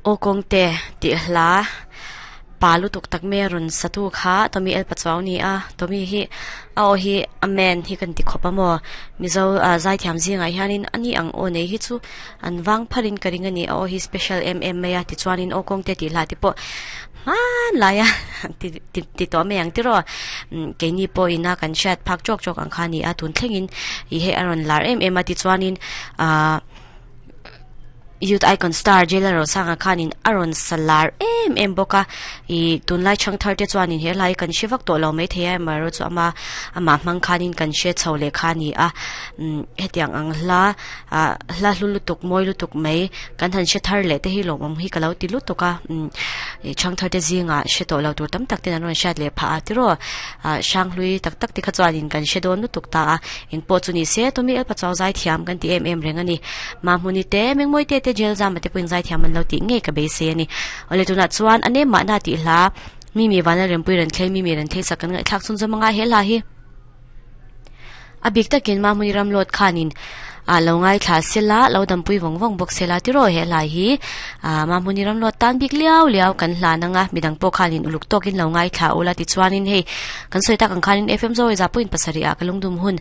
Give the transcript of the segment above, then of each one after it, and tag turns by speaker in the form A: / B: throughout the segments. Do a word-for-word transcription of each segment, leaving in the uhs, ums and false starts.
A: O kong te ti hla palu tuk tak me run satu kha tomi el pachaw ni a tomi hi a o hi amen hi kan ti khopa mo mizo zai thiam zinga hianin ani ang o nei hi chu an wang pharin karing ani a o hi special mm maya ti chuanin o kong te ti hla ti po man laya ti ti ti to me ang ti ro ke ni po ina kan chat phak chok chok ang khani a tun thlengin i he aron lar em em a ti chuanin a youth icon star jailer ro sanga khanin aron salar em em boka i tunlai chang thar te chuanin he lai kan shivak to lo mai thei ma ro chu ama ama mang khanin kan she chhole khani a hetiang ang hla a hla hlulu tuk moi lu tuk mai kan han she thar le te hi lo mom hi kalau ti lu tuka chang thar te zinga she to lo tur tam tak te an shat le pha ti ro sang hlui tak tak ti kha chuanin kan she don lu tuk ta a in po chu ni se tumi el pa chaw zai thiam kan ti em em reng ani ma hmuni te mengmoi te te jail zam te puin zai thiam an lo ti nge ka be se ani ole tuna chuan ane ma na ti hla mi mi wana rempui ran thlei mi mi ran thei sakan ngai thak chun zamanga he la hi abik takin ma muni ram lot khanin a lo ngai thla sela lo dam pui wong wong bok sela ti ro he lai hi a ma muni ram lot tan bik liao liao kan hla na nga midang po khanin uluk tokin lo ngai thla ola ti chuanin hei kan soita kan khanin fm zo za point pasari a kalungdum hun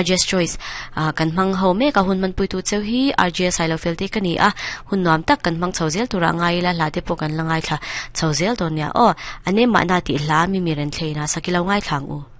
A: rjs choice a kan mang ho me ka hun man pui tu cheu hi rjs i lo felte kani a hun nuam tak kan mang chhozel tura ngai la hla te po kan la ngai thla chhozel donia o ane ma na ti hla mi mi ren thleina sakilo ngai thlang u.